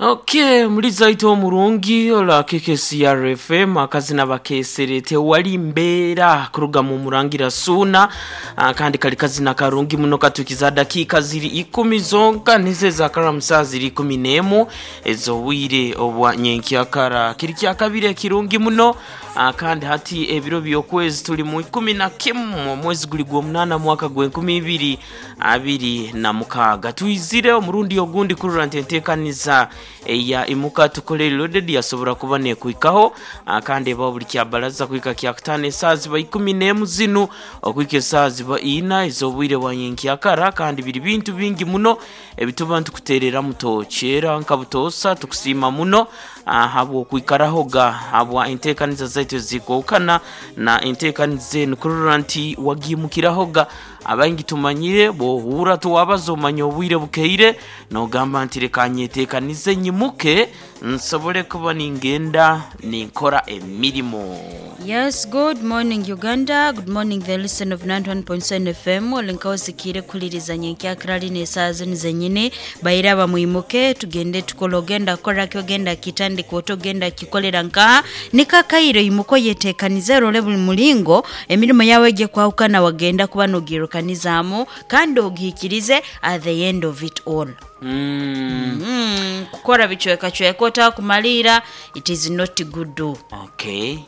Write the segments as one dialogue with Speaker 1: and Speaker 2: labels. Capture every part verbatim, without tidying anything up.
Speaker 1: Okay, muri zaito omurungi ola K K C R F M, akazina bakesere "Tewali Mbeera" kuruga mu Murangira Suna. ah, kandi kali kazina karungi muno. Katukiza dakika ziri ikumi zonka nize zakara saa ziri ikumi n'emu ez'obwire obwa nyenkyakara, kiri kyakabiri ekirungi muno. ah, kandi hati ebiro by'okwezi tuli mu ikumi na kimu, omwezi guli gw'omunaana, mwaka gw'enkumi ibiri abiri na mukaaga. Twizire omurundi ogundi kurora nti enteekaniza eya Imuka Tukole Reloaded yasobora kuba nekwikaho. ah, kandi ebaho buli kyabaraza kwika kyakutaano, esaaha ziba ikumi n'emu zinu okwika esaaha ziba ina ez'obwire bwa nyenkyakara. Kandi biri bintu bingi muno ebituba ntukutereramu tokyera nka butoosa. Tukusiima muno ah, habw'okwikarahoga, habwa enteekaniza zaitu ezikookana na enteekaniza enu kurora nti wagimukirahoga. Abaingi tumanyire bwohura tuwabaza, omanya obwire bukeire, nogamba nti reka nyeteekanize nyimuke nsobole kuba ningenda ninkora emirimo.
Speaker 2: Yes, good morning, Uganda. Good morning, the listen of ninety-one point seven F M. Olinkaosikire kuliriza nyenkyakira lino esaaha zinu zenyini. Bairaba, mwimuke tugende tukole. Ogenda kukoraki, ogenda kitandika ota, ogenda kikolera nkaha nikakaire. Imuko yetekanize, role buli mulingo emirimu yawe ejye kwahukana, wagenda kuba nogirukanizaamu kandi ogihikirize at the end of it all.
Speaker 1: mm.
Speaker 2: Mm, kukora bicwekacweka otakumalira, it is not good.
Speaker 1: Okay,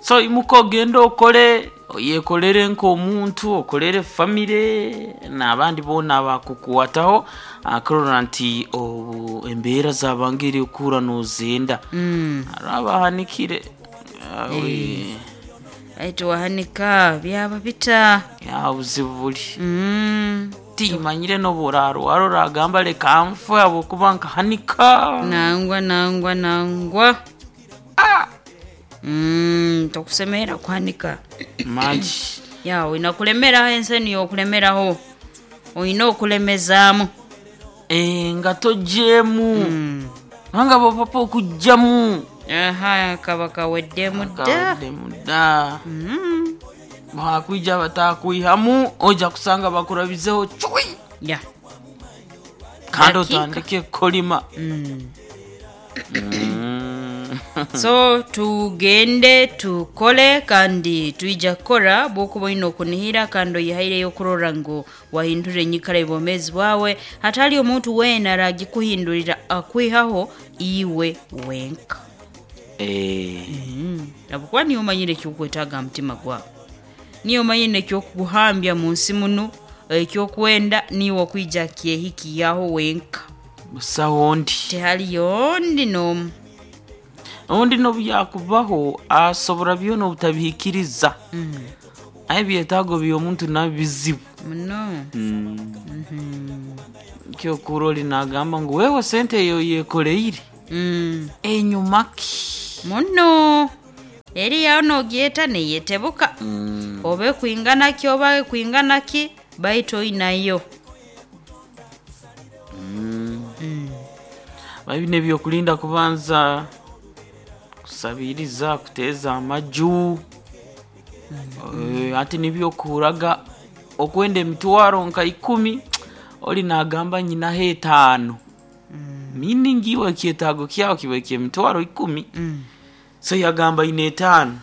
Speaker 1: so imuka ogende okole, yekolere nk'omuntu, okolere famire n'abandi boona abakukwataho, akurora nti obu embeera zabangire okura nozenda.
Speaker 2: mm.
Speaker 1: Hariho abahanikire. Ah, we,
Speaker 2: Aitu wahanika byaba bita?
Speaker 1: Ya buzibu buli.
Speaker 2: mm.
Speaker 1: Timanyire n'oburarwara oragamba reka nfe habwokuba nkahanika.
Speaker 2: Nangwa, nangwa, nangwa. mm, tokusemera kuhanika.
Speaker 1: Magi.
Speaker 2: Ya olina kulemeraho, ensi niyo okulemeraho, olina okulemezaamu.
Speaker 1: Eh, nga togyemu
Speaker 2: Mm.
Speaker 1: kubanga bwopapa okugjamu
Speaker 2: Aha, kaba kaweddemu dda.
Speaker 1: Kaweddemu dda.
Speaker 2: Mm.
Speaker 1: Bwakwija batakwihamu, ojja kusanga bakurabizeho cwi.
Speaker 2: Ya.
Speaker 1: Kandi
Speaker 2: Dakika.
Speaker 1: otandike kolima.
Speaker 2: Mm.
Speaker 1: Mm.
Speaker 2: So tugende tukole, kandi twija kukora bwokuba olina okunihira kandi oyihaireyo okurora ngu wahindura enyikara y'obwomeezi bwawe. Hatali omuntu weena aragikuhindurira, akwihaho iwe wenka.
Speaker 1: Eh,
Speaker 2: mm. Habwokuba niyo omanyire ekyokwetaaga aha mutima gwawe, niyo omanyire ekyokuguhambya mu nsi muno, ekyokwenda niiwe okwija kyehikiyaho wenka.
Speaker 1: Busaho ondi.
Speaker 2: Tehaliyo ondi n'omu.
Speaker 1: Ondi nobu yakubaho asobora byona obutabihikiriza,
Speaker 2: mm.
Speaker 1: aye ebyetaago by'omuntu nabyo bizibu.
Speaker 2: Muno.
Speaker 1: Kyokura oli nagamba ngu wewe sente eyo yekoleire
Speaker 2: mm.
Speaker 1: enyuma ki?
Speaker 2: Muno eri yawe nogyeta neyetebuka, oba ekwingana ki, oba ekwingana ki, baitu oinayo.
Speaker 1: Bino ebyokulinda kubanza kusabiriza, kuteeza amaju. Eh, ati nibyo okuhuraga okwenda emitwaro nka ikumi, oli nagamba nyinaho etaano, meaning iwe ekyetaago kyawe kiba ekyemitwaro ikumi, so yagamba ine etaano,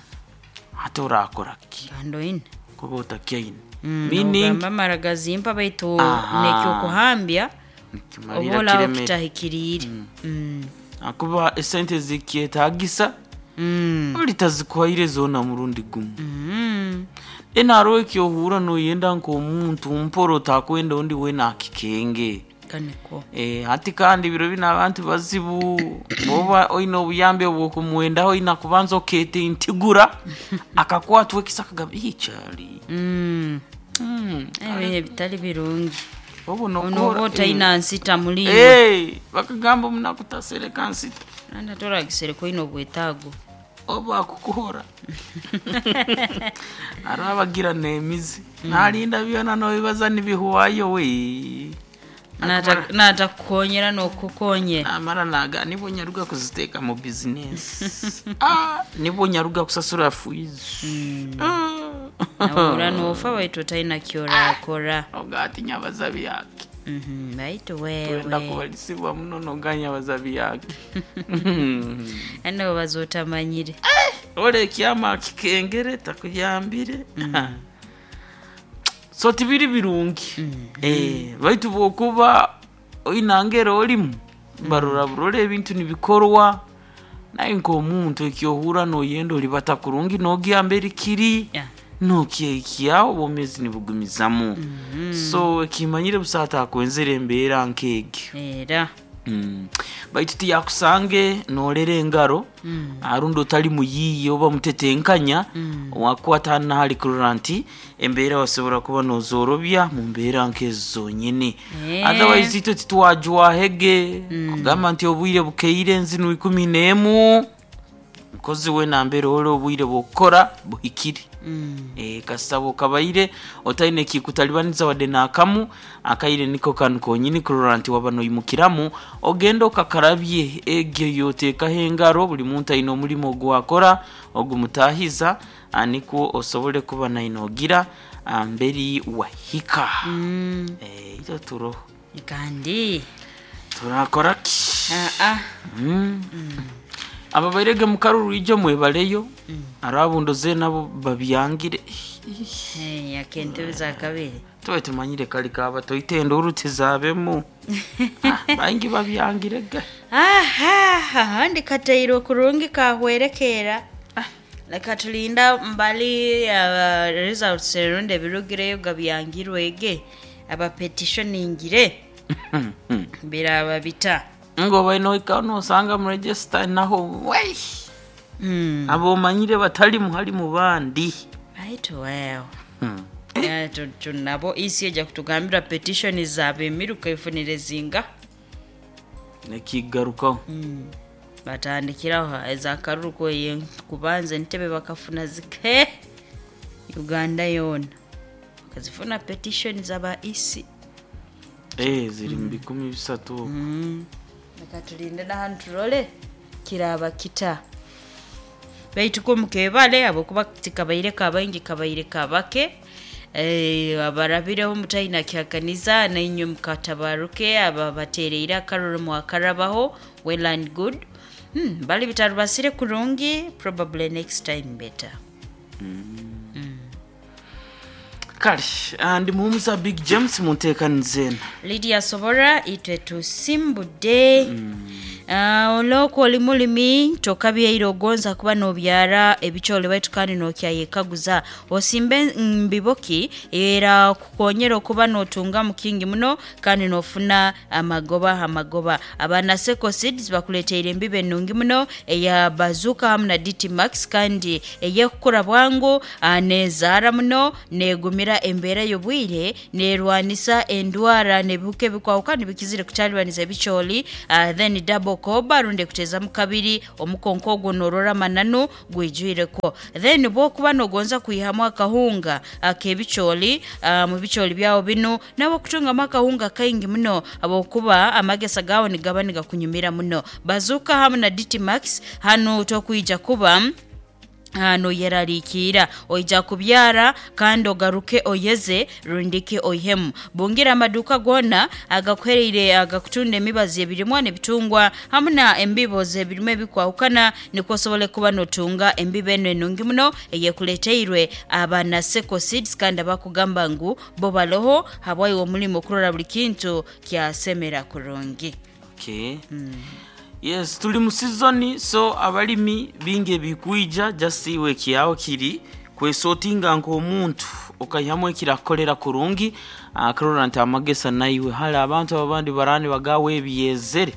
Speaker 1: ate orakora ki?
Speaker 2: Kandi oine.
Speaker 1: Kuba otakyaine.
Speaker 2: Mm,
Speaker 1: meaning
Speaker 2: nogamba amara gazimpa, baitu
Speaker 1: Aha.
Speaker 2: nekyokuhambya
Speaker 1: kimalira
Speaker 2: oba olaho
Speaker 1: kiremere.
Speaker 2: kitahikiriire. Mm.
Speaker 1: Akuba esente zikyetagisa,
Speaker 2: Mm.
Speaker 1: oli tazikuhaire zoona murundi gumu.
Speaker 2: Mm.
Speaker 1: Ena hariho ekyohura noyenda nk'omuntu mpora, otakwenda ondi weena akikenge.
Speaker 2: Kaniko.
Speaker 1: Eh, hati kandi biro bino abantu bazibu, bwoba oine obuyambi obwokumwendaho, oina kubanza oketa entigura akakwatwa ekisa akagamba ikyali.
Speaker 2: Mm.
Speaker 1: Mm.
Speaker 2: Ebihe bitali birungi.
Speaker 1: Obu
Speaker 2: ono oba
Speaker 1: nokora
Speaker 2: otaina nsita muliiwe.
Speaker 1: Eh, bakagamba omunaku tasereka nsita.
Speaker 2: Nanda toragisereka, oine obwetaago.
Speaker 1: Oba akukuhora hariho abagira n'emizi nalinda byona nobibaza nibihwayo we.
Speaker 2: Nata- natakukonyera nokukukonyera.
Speaker 1: Namara naga nibwo nyaruga kuziteeka mu bizinesi, ah, nibwo nyaruga kusasura fees.
Speaker 2: Nahura nofa, baitu otaina kyorakora.
Speaker 1: Ogati nyabaza byake.
Speaker 2: Mhm, baitu
Speaker 1: Twenda
Speaker 2: wewe
Speaker 1: kubalisibwa muno noganya bazabi yake.
Speaker 2: ano baza otamanyire.
Speaker 1: Ore ekyama kikengere takuyambire. So tibiri birungi. Eh, baitu bwokuba oinangera olimu barora burora ebintu nibikorwa naye nk'omuntu ekyohura noyenda olibata kurungi nogyamba erikiri
Speaker 2: Yeah.
Speaker 1: nokyekya obwomezi nibugumizamu. So ekimanyire busa atakwenzera embeera nk'egyo.
Speaker 2: Era
Speaker 1: Mm. Baitu tiyakusange norera engaro arundi otali muyiiya oba mutetenkanya wakwata nahali kurora nti embeera wasobora kuba nozorobya mu mbeera nkezo zonyene.
Speaker 2: Eh.
Speaker 1: Otherwise itwe titwajwahege kugamba nti obwire bukeire nzinu ikumi n'emu mukozi we nambere ore obwire bwokukora buhikire.
Speaker 2: Mm.
Speaker 1: E, kasaba okabaire otaine kikutalibaniza wadde nakamu akaire niko kanu konyini kurora nti waba noimukiramu ogenda okakarabye egyo yoteekaho engaro buli muntu aine omulimo ogwakora ogumutahiza ah, nikwo osobole kuba naine ogira ah, mberi wahika.
Speaker 2: Mm.
Speaker 1: e, ito turoho
Speaker 2: Kandi
Speaker 1: turakora ki?
Speaker 2: ah ah
Speaker 1: Mm. Aba bairege mukaruru ijo mwebaleyo arabundoze nabo babyangire.
Speaker 2: Hey, akentebe za kabiri.
Speaker 1: Tuba tumanyire kali kaba toitenda urutizabemu. Ah, baingi babyangire ga.
Speaker 2: Aha, ahandi katairwe kurungi kahwerekera. Leka tulinda mbali uh, results erundi ebirugireyo gabyangirwege abapetitioningire biraba bita.
Speaker 1: Ngo baino nosanga mu register naho wei
Speaker 2: Mm.
Speaker 1: abo manyire batali muhali mu bandi.
Speaker 2: Baitu wewe
Speaker 1: Hmm.
Speaker 2: Ya, tu- tu- nabo isi eja kutugambira petition zabe emiruka efunire zinga.
Speaker 1: Nekigarukaho.
Speaker 2: Mm. Batandikiraho ezakaruru kwe kubanza entebe bakafuna zike Uganda yona bakazifuna petition zaba isi.
Speaker 1: Eh, ziri mu bikumi bisatu.
Speaker 2: Mm. Leka tulinde nahantu turole kiraba kita baitu ko mukebale abokuba tikabaire kabaingi kabaire kabake. Eh, abarabireho mutaina kyakaniza nainywe mukatabaruke aba batereire akaruru mwakarabaho well and good. Hmm, bali bitarubasire kurungi, probably next time better.
Speaker 1: Kale ah, ndi muhumuza Big James munteekanizeena.
Speaker 2: Lydia Sobora itwe tusimbudde. mm. Uh, olwoku oli mulimi tokabyeire ogonza kuba nobyara ebikyole baitu kandi nokyayekaguza osimbe mbiboki era kukonyera okuba notunga mukingi muno kandi nofuna amagoba amagoba. Abana Seco Seeds bakuleteire embibo enungi muno eya bazuka hamu na D T Max kandi eyekukura bwangu ah, nezaara muno negumira embeera y'obwire nerwanisa endwara nebihuka ebikwahukana bikizire kutalibaniza ebikyoli. uh, then double koba runde kutezamu kabiri omukonko ogwo norora mananu gwijwireko. Then bwokuba nogonza kwihamu akahunga ak'ebikyoli uh, mu bikyoli byawo binu nabo kutungamu akahunga kaingi muno abokuba amagesa gawo nigaba nigakunyumira muno. Bazuka hamu na D T Max hanu tokwija kuba hano yerarikira oija kubyara kandi ogaruke oyeze rundike oihemu. Bungira amaduka gona agakuhereire agakutunda emibazi ebirimwa n'ebitungwa hamwe na embibo z'ebirimwa ebikwahukana nikwo osobole kuba notunga embibo eno enungi muno eyekuleteirwe abana Seco Seeds kandi abakugamba ngu bo baloho habwaiwe omulimo okurora buli kintu kyasemera kurungi.
Speaker 1: Okay. Yes, tuli mu season so abalimi bingi ebikwija just iwe kyawo kiri kwesotinga nk'omuntu okayihamu ekirakukolera kurungi akarora nti amagesa naiwe hali abantu abandi barani bagawe ebyezere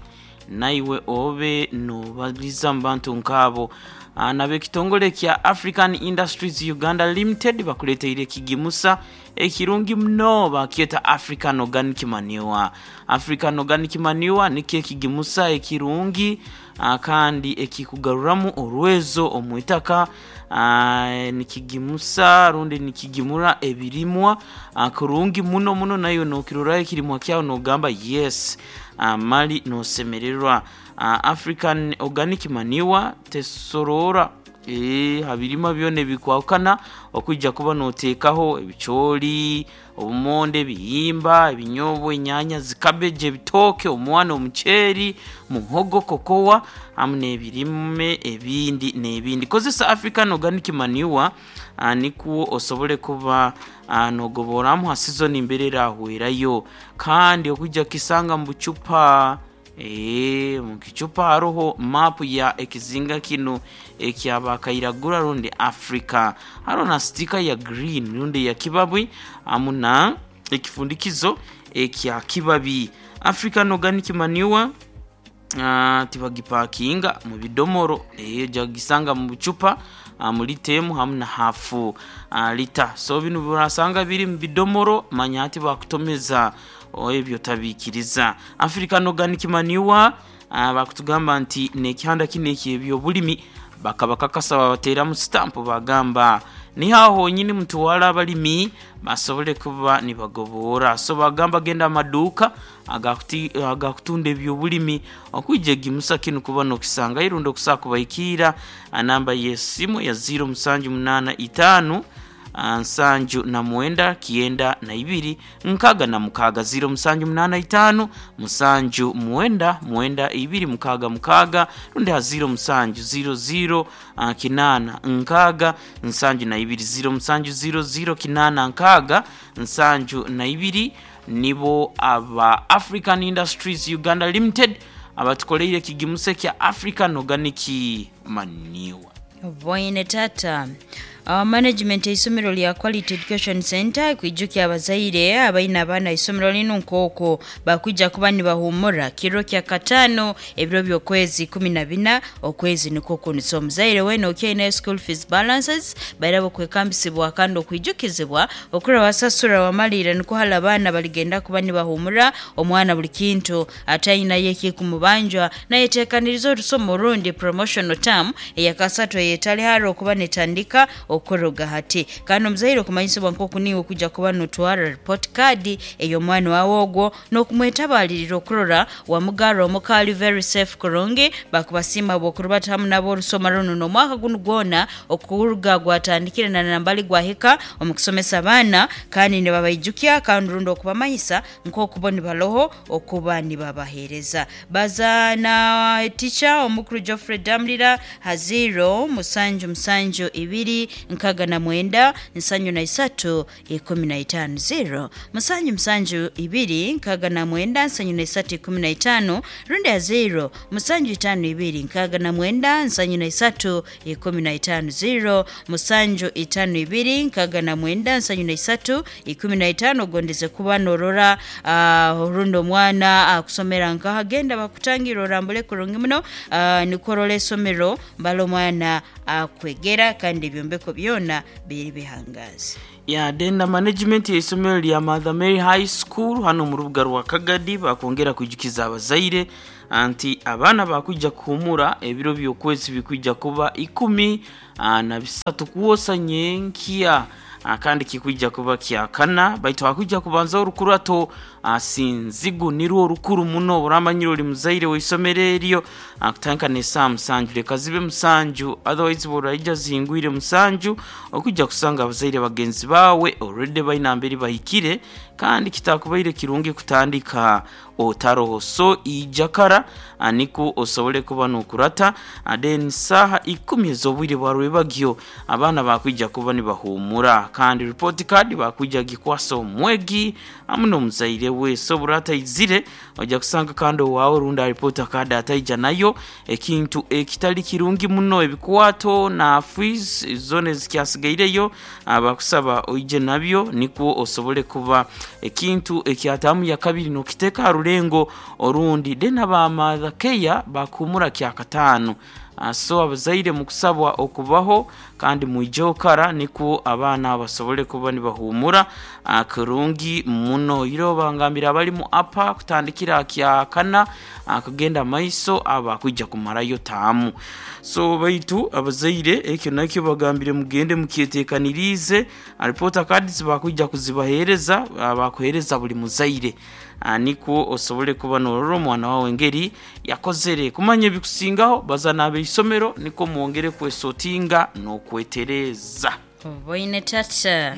Speaker 1: naiwe obe nobaliza mu bantu nk'abo. Ah, nab'ekitongole kya African Industries Uganda Limited bakuleteire ekigimusa ekirungi muno bakyeta African Organic Manure. African Organic Manure nikyo ekigimusa ekirungi ah, kandi ekikugaruramu orwezo omu itaka. Ah, nikigimusa rundi nikigimura ebirimwa ah, kurungi muno muno nayo nokirorayo ekirimwa kyawe nogamba yes, ah, mali nosemererwa. Ah, African Organic Manure tesorora Eh, habirima byona ebikwahukana okwijja kuba noteekaho ebicooli, obumonde, ebihimba, ebinyobwa, enyaanya, zikabeji, ebitooke, omwana, omuceeri, muhogo, kokowa hamu n'ebirime ebindi n'ebindi. Kozesa African Organic Manure ah, nikwo osobole kuba ah, nogoboramu ha season mbere erahwerayo, kandi okwijja kisanga mu bucupa. Ee, mu kicupa haroho mapu ya ekizinga kino ekyabakairagura rundi Africa, haroho na stika ya green rundi ya kibabi hamu na ekifundikizo ekya kibabi. African Organic Manure uh, tibagipakinga mu bidomoro, eyo jagisanga mu bucupa uh, mu lita emu hamu na hafu uh, lita. So bino burasanga biri mu bidomoro, manya ati bakutomeza ebyo tabiikiriza. African Organic Manure uh, bakutugamba nti nekihanda kino eky'ebyobulimi bakaba kakasa babateramu stamp, bagamba niho honyini mutwala abalimi basobole kuba nibagobora. So bagamba genda amaduuka agakutunda ebyobulimi okwijja egimusa kinu kuba nokisanga irundi okusaa kubaikiira namba y'esimu ya ziro musanju munaana itaano nsanju na mwenda kienda na ibiri nkaga na mukaga, ziro musanju munana itano musanju mwenda mwenda ibiri mukaga mukaga, rundi ha ziro musanju ziro ziro uh, kinana nkaga nsanju na ibiri, ziro musanju ziro ziro kinana nkaga nsanju na ibiri. Nibo aba African Industries Uganda Limited abatukoleire kigimuse kya African Organic Manure.
Speaker 2: Boine tata. Uh, management eisomero lya Quality Education Center kwijukya abazaire abaina abaana isomero lino nkooko bakwijja kuba nibahumura kiro kya katano ebiro by'okwezi kumi na bina okwezi nikwo kuno. So omuzaire wena okyaine school fees balances bairaba okwekambisibwa kandi okwijukizibwa okura wasasura wamalira nikwo hala abaana baligenda kuba nibahumura omwana buli kintu atayinayo ekikumubanjwa nayeteekaniriza orusomo orundi promotional term eyakasatu eyetali hara okuba netandika okoroga hati. Kandi omuzaire okumanyisibwa nkoku niwe okujja kuba notwara report card ey'omwana wawe ogwo n'okumwetabalirira okurora wamugarra omukaali very safe kurungi. Bakubasiima bwokurubata hamu nabo orusoma runo n'omwaka gunu gwona okuruga gwatandikire na nambali gwahika omu kusomesa abaana, kandi nibabaijukya kandi rundi okubamanyisa nk'okubo nibaloho okuba nibabaheereza. Baza na teacher omukuru Geoffrey Damlira ha ziro musanju musanju ibiri nkaga na mwenda nsanju na isatu ikumi na itano, zero musanju musanju ibiri nkaga na mwenda nsanju na isatu ikumi na itano, rundi ya zero musanju itano ibiri nkaga na mwenda nsanju na isatu ikumi na itano, zero musanju itano ibiri nkaga na mwenda nsanju na isatu ikumi na itano. Ogondeze kuba norora uh, rundi omwana akusomera uh, nkaha genda bakutangira orambule kurungi muno uh, nikwo esomero mbala omwana akwegera uh, kandi ebyombeko byona biri bihangazi.
Speaker 1: Ya denda management y'isomero lya Mother Mary High School hano mu rubuga rwa Kagadi bakongera kwijukiza abazaire anti abaana bakwijja kuhumura ebiro by'okwezi bikwijja kuba ikumi na bisatu kuwosa nyenkiya, kandi kikwijja kuba kyakana baitu hakwijja kubanza orukurato sinzigu nirwo rukuru muno buramanyiro oli muzaire w'isomero eryo kutandika n'esaaha musanju leka zibe musanju, otherwise buraija zingwire musanju okujja kusanga abazaire bagenzi bawe already baina mberi bahikire, kandi kitakubaire kirungi kutandika otaroho. So ijakara niko osobole kuba nokurata. Then saha ikumi ez'obwire bwa rwebagyo abaana bakwijja kuba nibahumura, kandi report card bakwijja gikwasa omwegi hamu n'omuzaire we. So burata izire ojja kusanga kandi owaawe rundi report card ataija nayo, ekintu ekitali kirungi muno. Ebikwato na fees zone zikyasigaireyo abakusaba oije nabyo nikwo osobole kuba ekintu ekyatamu ya kabiri nokiteeka ha rulengo orundi. Then aba Mother Care bakumura kyakataano. So abazaire mukusabwa okubaho Kandi mwijeho kara niko abaana basobole kuba nibahumura ah, kurungi muno. Iro bangambira abali mu apa kutandikira kya kana ah, kugenda maiso aba kwijja kumarayo taamu. So baitu abazaire ekyo nakyo bagambire mugende mukyetekanirize. Report cards bakwijja kuzibahereza, ah, bakuhereza buli muzaire, Ah, niko osobole kuba norora omwana wawe engeri yakozere. Kumanya ebikusingaho baza n'abeisomero niko mwongere kwesotinga n'okwetereza.
Speaker 2: Boine tata,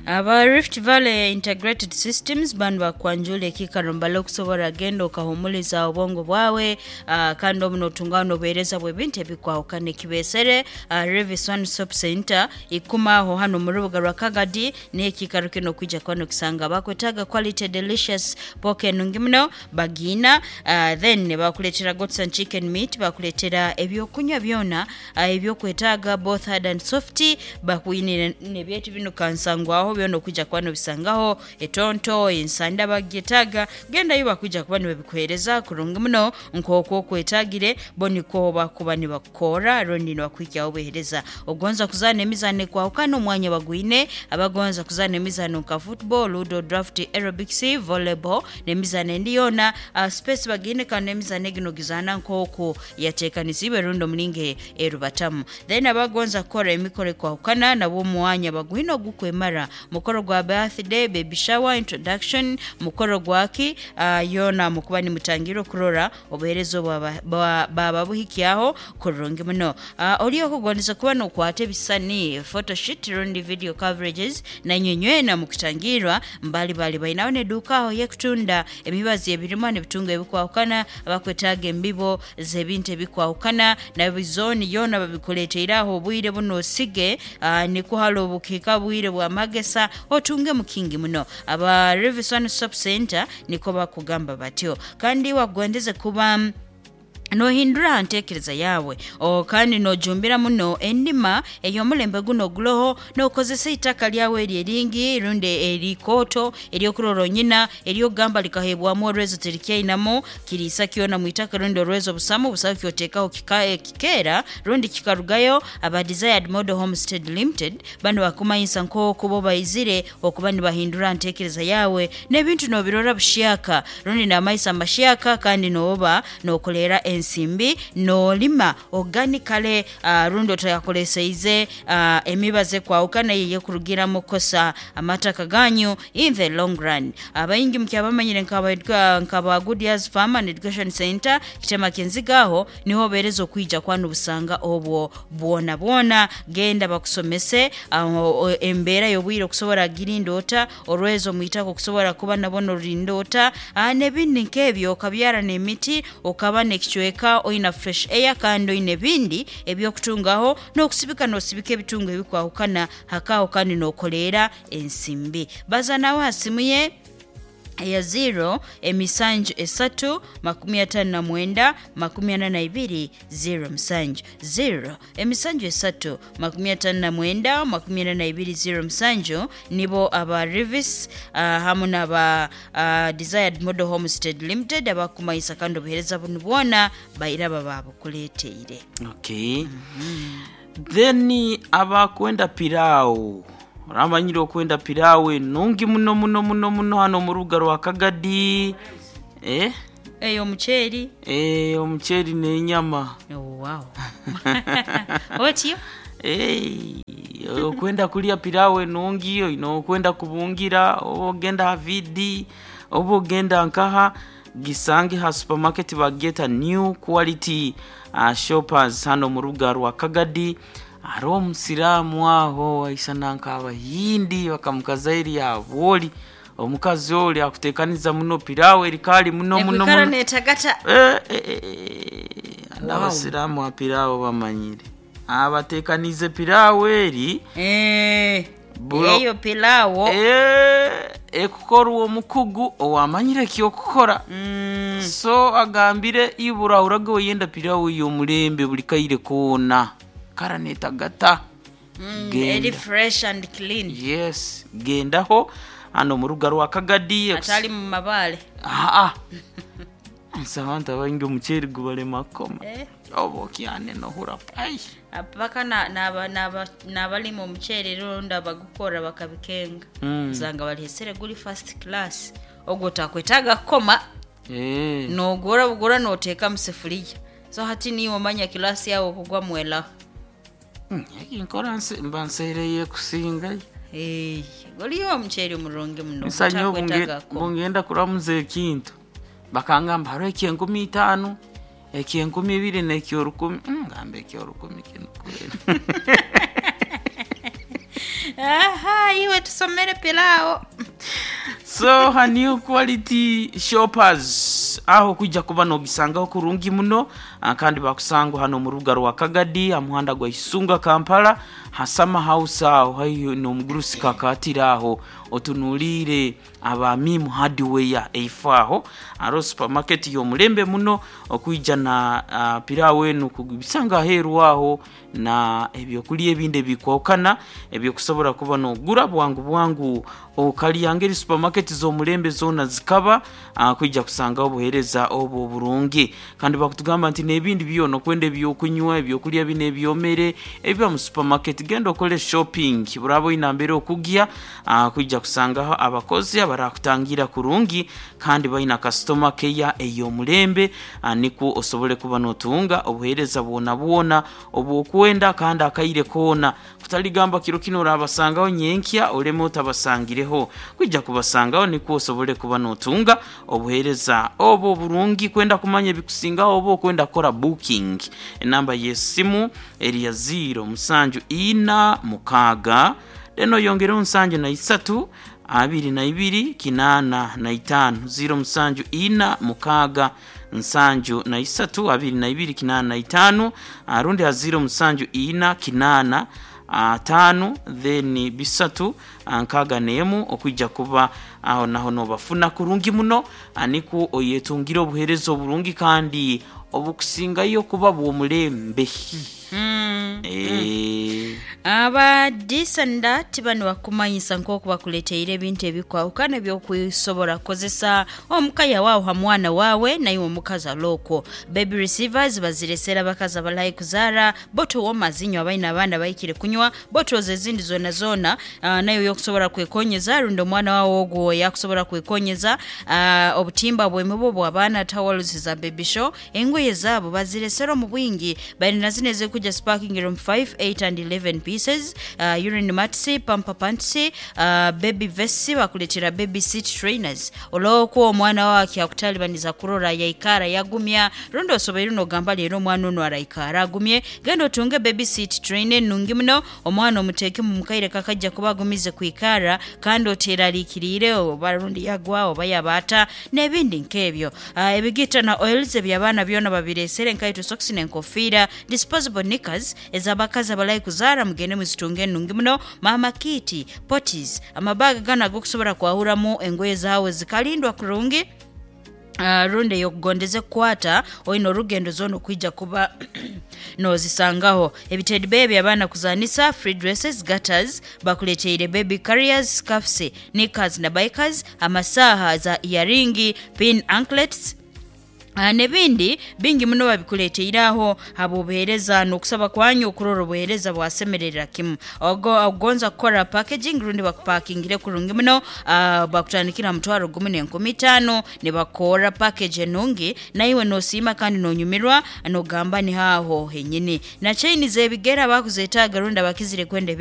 Speaker 2: aba Rift Valley Integrated Systems banu bakwanjula ekikaro mbale okusobora genda okahumuliza obwongo bwawe, uh, kandi obu notungaho nobuheereza bw'ebintu ebikwahukana ekibesere uh, Revis One Stop Center ikumaho hano mu rubuga rwa Kagadi. N'ekikaro kino kwija kuba nokisanga bakwetaga quality delicious pork enungi muno bagina, uh, then bakuletera goats and chicken meat, bakuletera ebyokunywa byona uh, ebyokwetaaga both hard and soft, bakuinire nebyetu bino kansangwaho byona okwijja kuba nobisangaho etonto ensanda bagyetaaga gendayo bakwija kuba nibabikuhereza kurungi muno nk'okwo okwetagire. Bo niko bakuba nibakukora rundi nibakwikyaho obuhereza. Ogonza kuzaana emizaano ekwahukana, omwanya bagwine. Abagonza kuzaana emizaano nka football, ludo, draft, aerobics, volleyball n'emizaano endi yoona, uh, space bagine kandi n'emizaano egino gizaana nk'oku yateekanisiibwe rundi omulingo erubatamu. Then abagonza kukora emikoro ekwahukana nabwo omwanya bagwine ogukwemara mukoro gwa birthday, baby shower, introduction, mukoro gwaki, uh, yona mukuba nimutangira okurora obuheereza obwo baba buhikyaho kurungi muno. uh, oli okugondeza kuba nokwata ebisani, photoshoot rundi video coverages, nanyonywena mukutangirwa mbali bali bainaho neduuka aho yekutunda emibazi ebirima nebitunga ebikwahukana. Abakwetaaga embibo z'ebintu ebikwahukana nabizoni yona babikuleteire aho obwire buno osige, uh, nikuhala obukiika bwire bwa magesa otunge mukingi muno. Aba Revis One Stop Center niko bakugamba batyo. Kandi wagondeze kuba nohindura ha ntekereza yawe o, kandi nojumbira muno endima ey'omulembe guno oguloho nokozesa itaka lyawe eri eringi rundi erikoto eryokurora onyina eryokugamba likahebwamu orwezo terikyainamu kiriisa kyona mwitaka rundi orwezo busamu busaho kyotekaho kika, eh, kikeera rundi kikarugayo. Aba Desired Model Homestead Limited bano bakumanyisa nk'okuba baizire okuba nibahindura ntekereza yawe n'ebintu nobirora bushyaka rundi n'amaisa mashyaka kandi noba nokolera ensimbi nolima organically, uh, rundi otayakoleseize uh, emibaze kwawukana yeye kurugiramu kosa amataka ganyu in the long run. Abaingi mukyabamanyire nkaba nkaba Good Years Farm and Education Center kitema kenzigaho niho bereza okwija kwanu busanga obwo bwona bwona. Genda bakusomese aho embeera y'obwire okusobora girindota orwezo mwitako okusobora kuba nabona orindota, uh, n'ebindi nk'ebyo okabyara n'emiti okaba n'ekicweka oina fresh air kandi oine ebindi ebyokutungaho n'okusibika n'osibika ebitungo ebikwahukana hakaho kandi n'okoleera ensimbi. Baza nawe ha simu ye eya zero emisanju esatu makumi atano na mwenda makumi ana na ibiri zero musanju, zero emisanju esatu makumi atano na mwenda makumi ana na ibiri zero musanju. Nibo aba Revis uh, hamu n'aba uh, Desired Model Homestead Limited abakumayisa kandi obuhereza bunu bwona bairaba babukuleteire.
Speaker 1: Okay, then abakwenda pilau, oramanyire okwenda pilau enungi muno muno muno muno hano mu rubuga rwa Kagadi, eh?
Speaker 2: Eyo omuceeri.
Speaker 1: Eh, omuceeri n'enyama.
Speaker 2: Oh, wow, otyo.
Speaker 1: Hey, okwenda kulya pilau enungi oine okwenda kubungira oba ogenda ha vidi oba ogenda nkaha gisange ha supermarket bagyeta New Quality uh, Shoppers hano mu rubuga rwa Kagadi. Hariho omusiraamu aho aisana nk'abahindi bakamukazairi yabwoli omukazi oli akutekaniza muno pilau erikali muno muno
Speaker 2: ekwikara
Speaker 1: muno.
Speaker 2: Netagata.
Speaker 1: Eh, eh, eh, eh, n'abasiraamu ha pilau bamanyire abatekanize pilau eri.
Speaker 2: Eh,
Speaker 1: Bulo-
Speaker 2: eyo pilawo.
Speaker 1: Eh, ekukorwa omukugu owamanyire kyokukora.
Speaker 2: Mm,
Speaker 1: so agambire ibura urage oyenda pilau y'omulembe buli kaire koona kara netagata.
Speaker 2: mm,
Speaker 1: Genda.
Speaker 2: eri fresh and clean.
Speaker 1: Yes, gendaho hano mu rubuga rwa Kagadi.
Speaker 2: Atali mu mabaale.
Speaker 1: Aa, Nsi abantu abaingi omuceeri gubalema kukoma.
Speaker 2: Eh.
Speaker 1: Oba okyane nohura pai.
Speaker 2: Paka n'abalima omuceeri rundi abagukora bakabikenga,
Speaker 1: Mm.
Speaker 2: usanga balihesere guri first class, ogwo otakwetaaga kukoma.
Speaker 1: Eh.
Speaker 2: Nogura bugura noteeka mu sefuriya, so hati niiwe omanya kilasi yawe okugwa mwelaho.
Speaker 1: Mm, eki nkora nse- mba nsereye kusingayo.
Speaker 2: Eh, guriyo omuceeri omurungi muno.
Speaker 1: Nsanye
Speaker 2: gutakwetaaga kukoma.
Speaker 1: bungenda kuramuza ekintu, bakangamba hariho ekyenkumi itaano, ekyenkumi ibiri nekyorukumi. Mm, ngamba ekyorukumi kinu kweli.
Speaker 2: Aha, iwe tusomere pilawo.
Speaker 1: So ha New Quality Shoppers aho kwijja kuba nogisangaho kurungi muno. ah, kandi bakusangwa hano mu rubuga rwa Kagadi, ha muhanda gwa Isunga Kampala, hasama house aho haihi n'omugurusi kakatira aho otunuliire aba Mimu Hardware eifo aho aro supermarket y'omulembe muno okwijja na uh, pilawo enu kubisanga aheeru aho na ebyokulya ebindi ebikwawukana ebyokusobola kuba nogura bwangu bwangu okalya ngeri supermarket z'omulembe zoona zikaba uh, kwijja kusangaho obuheereza obwo oburungi. Kandi bakutugamba nti n'ebindi byona okwenda ebyokunywa, ebyokulya bino ebyomere ebiba mu supermarket, genda okole shopping buraba oyina mbere okugya uh, kwijja kusangaho abakozi abarakutangira kurungi kandi balina customer care ey'omulembe, uh, nikwo osobole kuba notunga obuheereza bwona bwona obwokwenda kandi akaire koona, kutaligamba kiro kino orabasangaho nyenkya oleme otabasangireho. Kwijja kubasangaho nikwo osobole kuba notunga obuheereza obwo burungi. Kwenda kumanya ebikusingaho oba okwenda kukora booking, enamba y'essimu eri ya ziro musanju ina mukaaga then oyongereho nsanju na isatu abiri na ibiri kinaana na itaano, ziro musanju ina mukaaga nsanju na isatu abiri na ibiri kinaana na itaano, ah, rundi ha ziro musanju ina kinaana ataano then bisatu ah, nkaaga n'emu okwijja kuba aho naho nobafuna kurungi muno, ah, nikwo oyetungire obuheereza oburungi kandi obukusingayo kuba bw'omulembe.
Speaker 2: Mm.
Speaker 1: Eh.
Speaker 2: Aba disandat bano bakumanyisa nk'oku bakuleteire ebintu ebikwawukana ebyokusobola kukozesa omukaya waawe ha mwana waawe naiwe omukazi alokwo. Baby receivers baziresera abakazi abalahi kuzaara, bottle warmers inywe abaina abaana bahikire kunywa, bottles ezindi zona zona, uh, nayo yokusobola kwekonyeza rundi omwana waawe ogwo yakusobola kwekonyeza, uh, obutimba bwemibu bw'abaana, towels za baby show, engoye zaabo baziresera omu bwingi. Balina zino ezikuja sparking room five, eight and eleven pieces, uh, urine mats, pamper pants, uh, baby vests, bakuletera baby seat trainers olwokuba omwana wawe akutalibaniza kurora yaikara yagumya rundi osoboire nogamba leero omwana ono araikara agumye, genda otunge baby seat trainer enungi muno, omwana omuteeke mu mukaire kakajja kuba agumize kwikara kandi oteraliikiriire oba rundi yagwa oba yabaata n'ebindi nk'ebyo. uh, ebigita na oils ebyabaana byona babiresere, nkaito, socks n'enkofiira, disposable knickers ez'abakazi abalahi kuzaara, mugende muzitunge enungi muno. Mama kit, potties, amabaga gano agokusobola kwahuramu engoye zaawe zikalindwa kurungi, Uh, rundi eyokugondeze kukwata oine orugendo zona okwija kuba nozisangaho. Ebitedi bebi abaana kuzanisa, free dresses, gutters, bakuleteire baby carriers, scarfs, knickers na bikers, amasaha za earring, pin anklets, Ah, n'ebindi bingi muno babikuleteire aho habwobuheereza n'okusaba kwanyu okurora obuheereza bwasemerera kimu. Ogo- ogonza kukora packaging rundi bakupakingire kurungi muno, ah, bakutandikira mutwaro gumu n'enkumi itaano ne bakora package enungi naiwe nosiima kandi nonyumirwa nogamba ni haaho henyini. Na chaini z'ebigere abakuzeetaaga rundi abakizire kwenda.